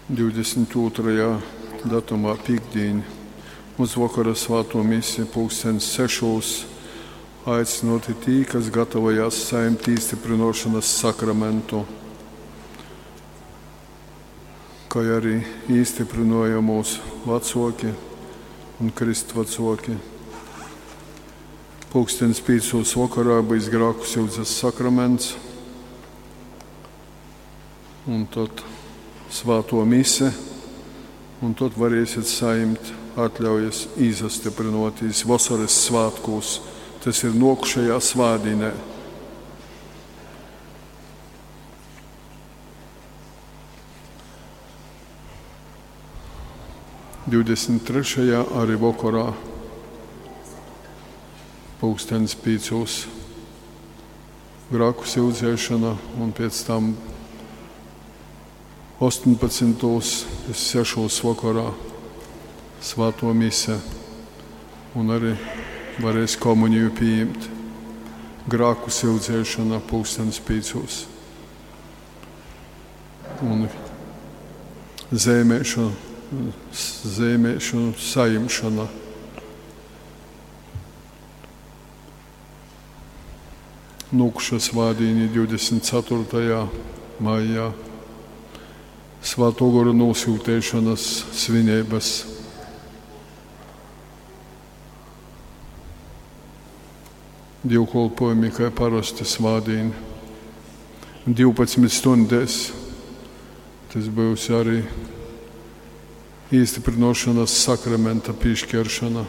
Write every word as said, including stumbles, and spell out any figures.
divdesmit ūtrajā datumā pīktdīņ uz vokora svātū misi pulkstens sešūs aicynuoti tī, kas gatavojās sajimt īstyprynuošonys sakramentu, kai ari īstyprynojamūs vacuoki un krystvacuoki. Pulkstens pīcūs vokorā būs grāku syudzes sakraments, un tad svātuo mise, un tad varēsiet sajimt atļaujas īsastyprynuotīs vosorys svātkūs. Tas ir nuokušajā svātdīnē. Divdesmit trešajā arī vokorā pulkstens pīcūs grāku syudzēšana, un pēc tam astoņpadsmitūs sešūs vokorā svātuo mise, un arī varēs komuniju pieņemt. Grāku syudzēšana pulkstens pīcūs. Un zeimēšana, zeimēšanu sajimšana. Nūkuša svādīni divdesmit ceturtajā maijā Svāto Goru nosūtēšanas svinības. Dievkalpojumi, kā parasti svādīni. Divpadsmit stundēs tas būs arī īstiprinošanas sakramenta piešķiršana.